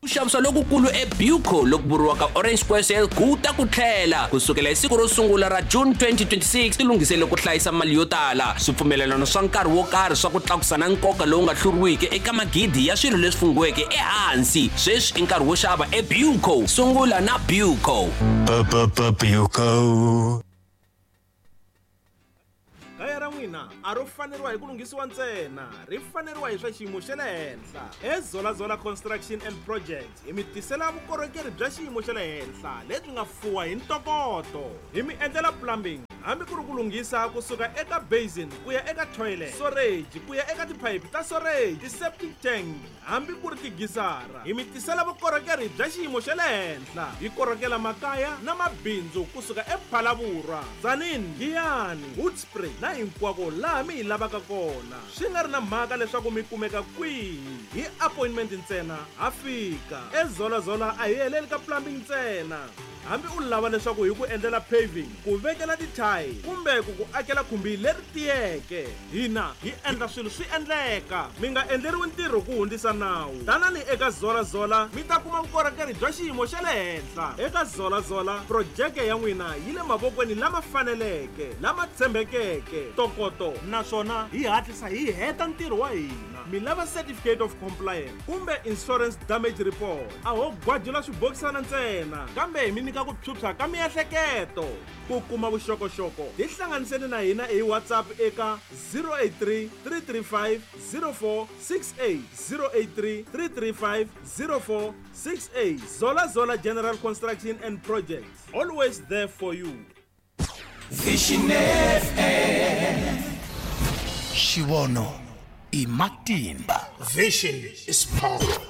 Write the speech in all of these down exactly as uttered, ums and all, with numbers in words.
Ku xavisa lokukulu eBuco loku vuriwaka Orange Square Sale ku ta ku tlhela kusukela hi siku ro sungula ra June twenty twenty-six tilunghisele ku hlayisa mali yo tala swipfumelelano swa nkarhi wo karhi swa ku tlakusa na nkoka lowu nga hluriwiki eka magidi ya swilo leswi funghiweke ehansi sweswi i nkarhi wo xava eBuco sungula na Buco. Buco. Kaya ra n'wina a ro faneriwa hi ku lunghisiwa ntsena ri faneriwa hi swa xiyimo xa le henhla eZola Zola Construction and Projects hi mi tisela vukorhokeri bya xiyimo xa le henhla lebyi nga fuwa hi ntokoto hi mi endlela plumbing hambi ku ri ku lunghisa kusuka eka basin ku ya eka toilet storage ku ya eka tiphayiphi ta storage ti-septic tank hambi ku ri tigisara hi mi tisela vukorhokeri bya xiyimo xa le henhla hi korhokela makaya na mabindzu kusuka ePhalavurwa Tzaneen Giyani Hoedspruit na hinkwako laha mi hi lavaka kona swi nga ri na mhaka leswaku mi kumeka kwihi hi appointment ntsena ha fika eZola Zola a hi heleli ka plumbing ntsena hambi u lava leswaku hi ku endlela paving ku vekela tithayi kumbe ku ku akela khumbi leri tiyeke hina hi endla swilo swi endleka mi nga endleriwi ntirho ku hundzisa nawu tanani eka Zola Zola mi ta kuma vukorhokeri bya xiyimo xa le henhla eka Zola Zola projeke ya n'wina yi le mavokweni lama faneleke lama tshembekeke ntokoto naswona hi hatlisa hi heta ntirho wa hina mi lava certificate of compliance kumbe insurance damage report a ho gwajula swibokisana ntsena kambe hi mi nyika ku phyuphya ka miehleketo ku kuma vuxokoxoko tihlanganiseni na hina hi WhatsApp eka zero eight three three three five zero four six eight zero eight three three three five zero four six eight Zola Zola General Construction and Projects always there for you. Vision F M Xivono i matimba. Vision is power.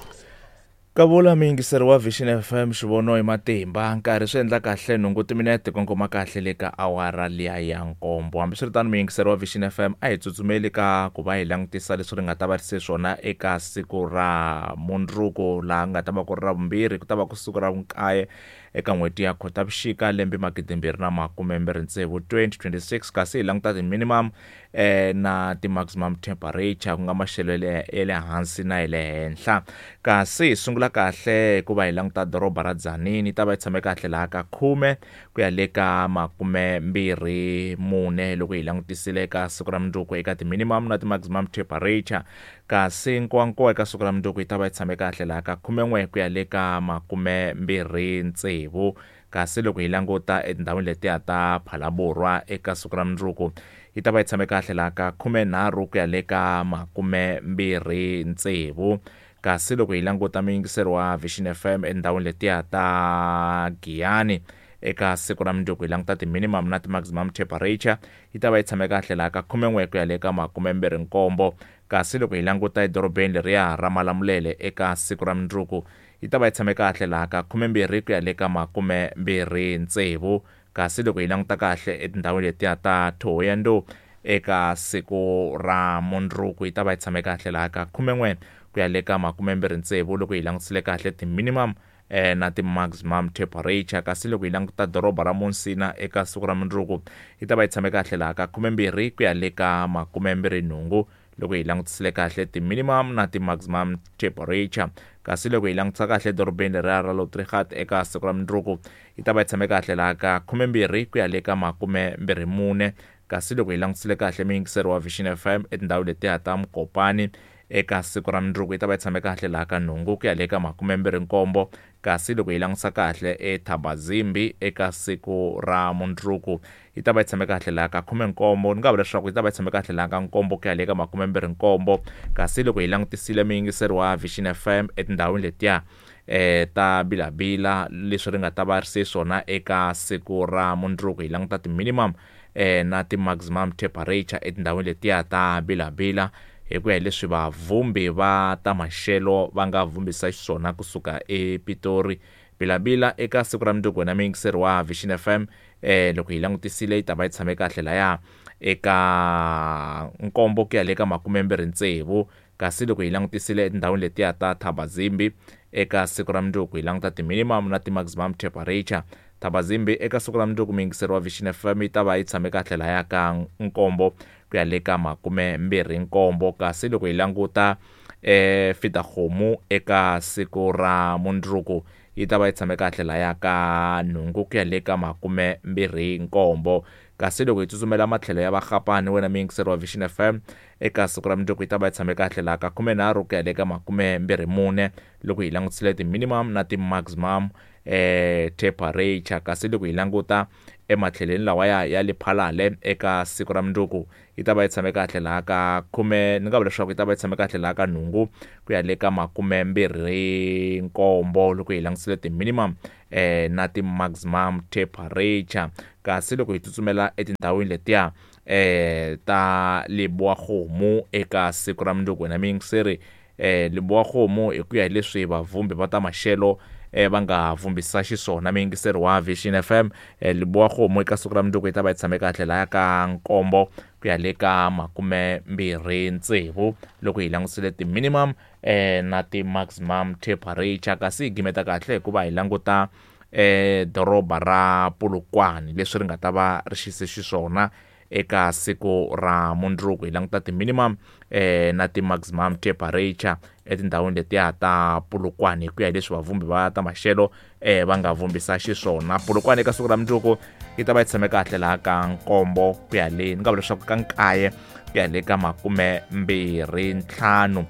Kavula miyingiseri wa Vision F M xivono i matimba nkarhi swi endla kahle nhungu timinete kongoma kahle le ka awara liya ya nkombo hambiswiritano miyingiseri wa Vision F M a hi tsutsumeli ka ku va hi langutisa leswi ri nga ta va ri se swona eka siku ra mundzuku laha nga ta va ku ri ra vumbirhi ku ta va ku siku ra vunkaye eka n'hweti ya Khotavuxika lembe magidi mbirhi na makume mbirhi tsevu twenty twenty-six kasi hi languta ti-minimum eh, na ti-maximum temperature ku nga maxelo ya le hansi na ya le henhla kasi hi sungula kahle hikuva hi languta doroba ra Tzaneen yi ta va yi tshame kahle laha ka khume ku ya le ka makume mbirhi mune loko hi langutisile eka siku ra mundzuku eka ti-minimum na ti-maximum temperature kasi Nkowankowa eka siku ra mundzuku yi ta va yi tshame kahle laha ka khumen'we ku ya le ka makume mbirhi tsevu kasi loko hi languta etindhawini letiya ta Phalaborwa eka siku ra mundzuku yi ta va yi tshame kahle laha ka khumenharhu ku ya le ka makume mbirhi tsevu kasi loko hi languta miyingiseri wa Vision F M etindhawini letiya ta Giyani eka siku ra mundzuku hi languta ti-minimum na ti-maximum temperature yi ta va yi tshame kahle laha ka khumen'we ku ya le ka makume mbirhi nkombo kasi loko hi languta edorobeni leriya ra Malamulele eka siku ra mundzuku yi ta va yi tshame kahle laha ka khume mbirhi ku ya le ka makume mbirhi tsevu kasi loko hi languta kahle etindhawini letiya ta Thohoyandou eka siku ra mundzuku yi ta va yi tshame kahle laha ka khumen'we ku ya le ka makume mbirhi tsevu loko hi langutisile kahle ti-minimum eh, na ti-maximum temperature kasi loko hi languta doroba ra Musina eka siku ra mundzuku yi ta va yi tshame kahle laha ka khume mbirhi ku ya le ka makume mbirhi nhungu loko hi langutisile kahle ti-minimum na ti-maximum temperature kasi loko hi langutisa kahle dorobeni leriya ra Lotrigat eka siku ra mundzuku yi ta va yi tshame kahle laha ka khume mbirhi ku ya le ka makume mbirhi mune kasi loko hi langutisile kahle miyingiseri wa Vision F M etindhawini letiya ta Mokopane eka siku ra mundzuku yi ta va yi tshame kahle laha ka nhungu ku ya le ka makume mbirhi nkombo kasi loko hi langutisa kahle eThabazimbi eka siku ra mundzuku yi ta va yi tshame kahle laha ka khume nkombo ni nga vula leswaku yi ta va yi tshame kahle laha ka nkombo ku ya le ka makume mbirhi nkombo kasi loko hi langutisile miyingiseri wa Vision F M etindhawini letiya eh ta Bilabila leswi ri nga ta va ri se swona eka siku ra mundzuku hi languta ti-minimum eh na ti-maximum temperature etindhawini letiya ta Bilabila hi ku ya hi leswi vavhumbi va ta maxelo va nga vhumbisa xiswona kusuka ePitori Bilabila eka siku ra mundzuku wena miyingiseri wa Vision F M eh loko hi langutisile yi ta va yi tshame kahle laya eka nkombo ku ya le ka makume mbirhi tsevu kasi loko hi langutisile etindhawini letiya ta Thabazimbi eka siku ra mundzuku hi languta ti-minimum na ti-maximum temperature Thabazimbi eka siku ra mundzuku miyingiseri wa Vision F M yi ta va yi tshame kahle laya ka nkombo ku ya le ka makume mbirhi nkombo kasi loko hi languta eh Fitahomu eka siku ra mundzuku yi ta va yi tshame kahle laya ka nhungu ku ya le ka makume mbirhi nkombo. Kasi loko hi tsutsumela matlhelo ya Vagapane wena muyingiseri wa Vision F M eka siku ra mundzuku yi ta va yi tshame kahle laha ka khumenharhu ku ya le ka makume mbirhi mune loko hi langutisile ti-minimum na ti-maximum eh temperature. Kasi loko hi languta ematlhelweni lawa ya ya Lephalale eka siku ra mundzuku yi ta va yi tshame kahle laha ka khume ni nga vula leswaku yi ta va yi tshame kahle laha ka nhungu ku ya le ka makume mbirhi nkombo loko hi langutisile ti-minimum eh na ti-maximum temperature. Kasi loko hi tsutsumela etindhawini letiya eh ta Lebowa-Kgomo eka siku ra mundzuku wena muyingiseri eh Lebowa-Kgomo hi ku ya hi leswi vavhumbi va ta maxelo eh va nga vumbisa xiswona muyingiseri wa Vision F M eh Lebowa-Kgomo eka siku ra mundzuku yi ta va yi tshame kahle laya ka nkombo ku ya le ka makume mbirhi tsevu loko hi langutisile ti-minimum eh na ti-maximum temperature. Kasi hi gimeta kahle hikuva hi languta eh doroba ra Polokwane leswi ri nga ta va ri xise xiswona eka siku ra mundzuku hi languta ti-minimum eh na ti-maximum temperature etindhawini letiya ta Polokwane hi ku ya hi leswi vavhumbi va ta maxelo eh va nga vumbisa xiswona. Polokwane eka siku ra mundzuku yi ta va yi tshame kahle laha ka nkombo ku ya le ni nga vula leswaku ka nkaye ku ya le ka makume mbirhi ntlhanu.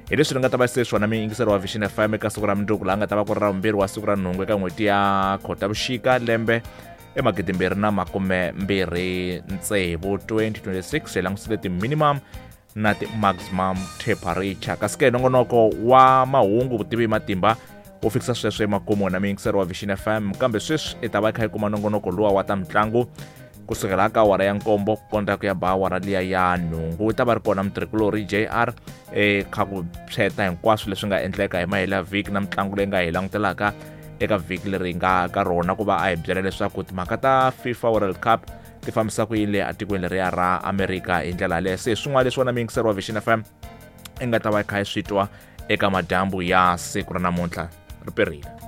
Hi leswi ri nga ta va se swona muyingiseri wa Vision F M eka siku ra mundzuku laha nga ta va ku ri ra vumbirhi wa siku ra nhungu eka n'hweti ya Khotavuxika lembe emagidi mbirhi na makume mbirhi tsevu twenty twenty-six hi langutisile ti-minimum na ti-maximum temperature. Kasi ke nongonoko wa mahungu vutivi hi matimba wo fikisa sweswo emakumu na muyingiseri wa Vision F M, kambe sweswi i ta va i kha yi kuma nongonoko luwa wa ta mitlangu kusukela ka awara ya nkombo ku kondza ku ya ba awara liya ya nhungu. Ta va ri kona mutirhikulori J R eh kha ku phyeta hinkwaswo leswi nga endleka hi mahela vhiki na mitlangu leyi nga hi langutelaka eka vhiki leri nga ka rona ku va a hi byela leswaku timhaka ta FIFA World Cup ti fambisa ku yini le atikweni leriya ra Amerika hi ndlela yaleyo. Se swin'wana leswi wona muyingiseri wa Vision F M i nga ta va i kha i swi twa eka madyambu ya siku ra namuntlha ri perile.